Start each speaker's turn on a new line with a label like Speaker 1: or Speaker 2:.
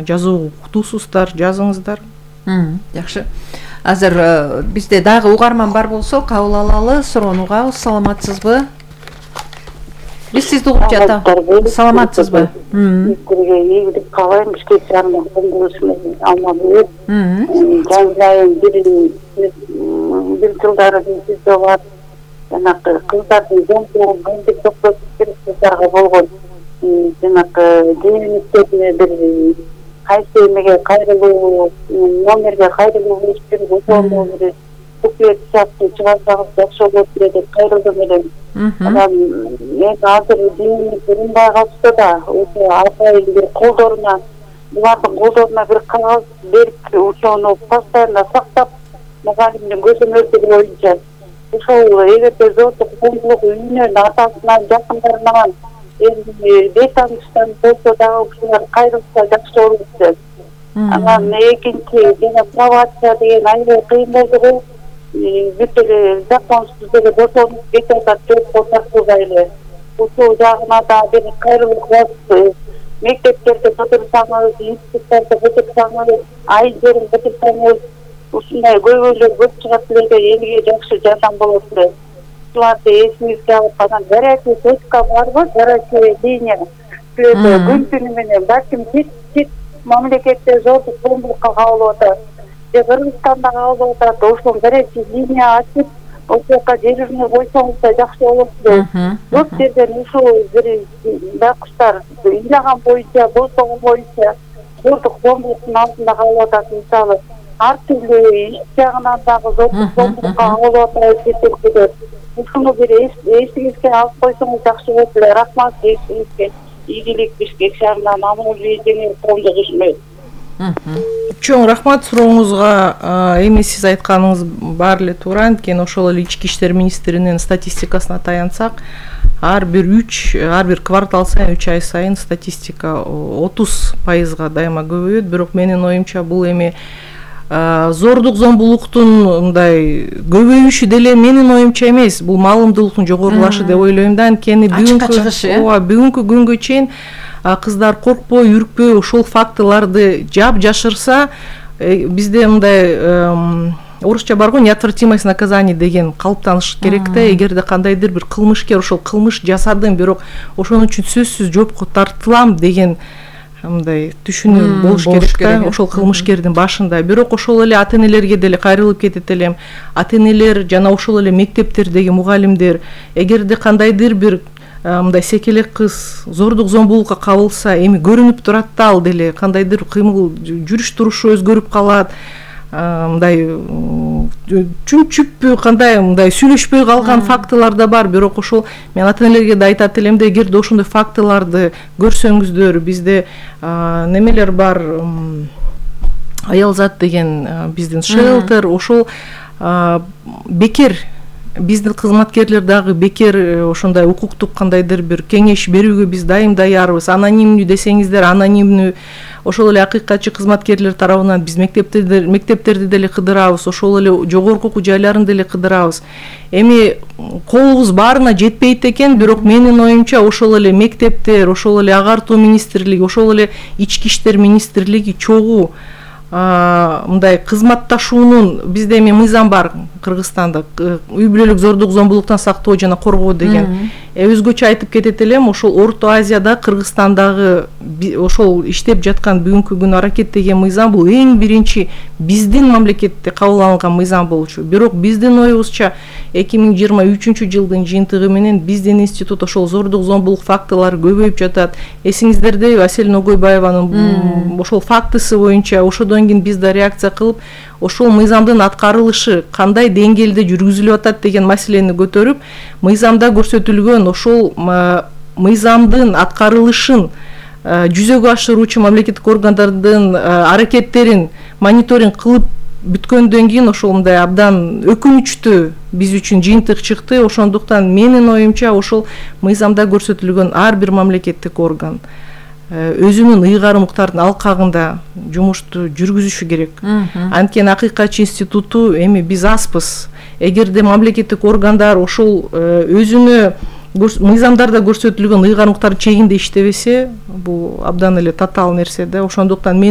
Speaker 1: жазуу уктуусуздар, жазыңыздар.
Speaker 2: Жакшы. Азыр бизде дагы угарман бар болсо кабыл алалы, суроону угабыз. Саламатсызбы? Биз сизди угуп жатабыз. Саламатсызбы?
Speaker 3: Бизге ийгилик каалайм, бизге чарман коңгурушун алмабыз. Жаңылайын бир жылдары бизде бар. Жанагы кыздардын жомтугун кантип токтотуп керек кыздарга болгон жанагы жеңилдиктерине бир кайсы эмеге кайрылуу, номерге кайрылуу керек, ошону бир буклет сыяктуу чыгарсаңыз жакшы болот деп кайрылдым элем. Анан мен азыр жеңилдик урунбай калышты да, ошо атайын бир колдоруна, булардын колдоруна бир кагаз берип, ошону постоянно сактап, мугалимдин көзөмөлдүгү боюнча ошол эгерде зордук зомбулук үйүнөн атасынан жакындарынан бейтаныштан болсо дагы ушулар кайрылса жакшы болот деп. Анан экинчи жана пробация деген аябай кыйын болду го. Бүт эле законсуз эле бошонуп кетип атат, жокко тартылбай эле. Ушул жагына да бир кайрылуу кылабыз. Мектептерде бүтүрсаңыз, институттарда бүтүрсаңыз, айылдарын бүтүрсаңыз, ушундай көйгөйлөр көп чыгат эле, элге жакшы жардам болот эле. Ушуларды эсиңизге алып, анан горячий точка барбы, горячая линия. Күн түнү менен балким чет мамлекетте зордук зомбулукка кабылып атат. Кыргызстанда кабылып атат, ошол горячий линия ачып, ошока дежурный койсоңуз да жакшы болот эле. Көп жерден ушул бир бакыштар ыйлаган боюнча, болсоңу боюнча зордук зомбулуктун алдында калып атат. Мисалы, ар түрдүү иш жагынан дагы зордук зомбулукка кабылып атат жетекчилер. Ушуну бир эсиңизге алып койсоңуз жакшы болот эле. Рахмат эсиңизге. Ийгилик Бишкек шаарынан Амангүл Жеңил коомдук ишмер.
Speaker 1: Чоң рахмат сурооңузга. Эми сиз айтканыңыз бар эле туура. Анткени ошол эле ички иштер министринин статистикасына таянсак, ар бир квартал сайын 3 ай сайын статистика 30% дайыма көбөйөт. Бирок менин оюмча бул эми зордук зомбулуктун мындай көбөйүшү деле менин оюмча эмес, бул маалымдуулуктун жогорулашы деп ойлойм да. Анткени бүгүнкү күнгө чейин кыздар коркпой, үркпөй ошол фактыларды жашырса, бизде мындай орусча бар го, неотвратимость наказания деген калыптаныш керек да. Эгерде кандайдыр бир кылмышкер ошол кылмыш жасадым, бирок ошонун үчүн сөзсүз жоопко тартылам деген мындай түшүнүү болуш керек да, ошол кылмышкердин башында. Бирок ошол эле ата-энелерге деле кайрылып кетет элем. Ата-энелер жана ошол эле мектептердеги мугалимдер, эгерде кандайдыр бир мындай секелек кыз зордук зомбулукка кабылса, эми көрүнүп турат да, ал деле кандайдыр кыймыл, жүрүш турушу өзгөрүп калат, мындай чүмчүппү, кандай мындай сүйлөшпөй калган фактылар да бар. Бирок ошол мен ата-энелерге да айтат элем да, эгерде ошондой фактыларды көрсөңүздөр, бизде немелер бар, Аялзат деген биздин шелтер, ошол бекер биздин кызматкерлер дагы бекер ошондой укуктук кандайдыр бир кеңеш берүүгө биз дайым даярбыз. Анонимдүү десеңиздер, анонимдүү. Ошол эле акыйкатчы кызматкерлер тарабынан биз мектептерди деле кыдырабыз, ошол эле жогорку окуу жайларын деле кыдырабыз. Эми колубуз баарына жетпейт экен, бирок менин оюмча ошол эле мектептер, ошол эле агартуу министрлиги, ошол эле ички иштер министрлиги чогуу мындай кызматташуунун, бизде эми мыйзам бар Кыргызстанда, үй бүлөлүк зордук зомбулуктан сактоо жана коргоо деген. Өзгөчө айтып кетет элем, ошол Орто Азияда, Кыргызстандагы ошол иштеп жаткан бүгүнкү күнү аракеттеген мыйзам бул эң биринчи биздин мамлекетте кабыл алынган мыйзам болчу. Бирок биздин оюбузча 2023 жылдын жыйынтыгы менен биздин институт ошол зордук зомбулук фактылары көбөйүп жатат. Эсиңиздерде Асель Ногойбаеванын ошол фактысы боюнча ошодон кийин биз да реакция кылып, ошол мыйзамдын аткарылышы кандай деңгээлде жүргүзүлүп атат деген маселени көтөрүп, мыйзамда көрсөтүлгөн ошол мыйзамдын аткарылышын жүзөгө ашыруучу мамлекеттик органдардын аракеттерин мониторинг кылып бүткөндөн кийин ошол мындай абдан өкүнүчтүү биз үчүн жыйынтык чыкты. Ошондуктан менин оюмча ошол мыйзамда көрсөтүлгөн ар бир мамлекеттик орган өзүнүн ыйгарым укуктардын алкагында жумушту жүргүзүшү керек. Анткени акыйкатчы институту эми биз азбыз. Эгерде мамлекеттик органдар ошол өзүнө мыйзамдарда көрсөтүлгөн ыйгарымдыктар чегинде иштебесе бул абдан эле татаал нерсе да. Ошондуктан мен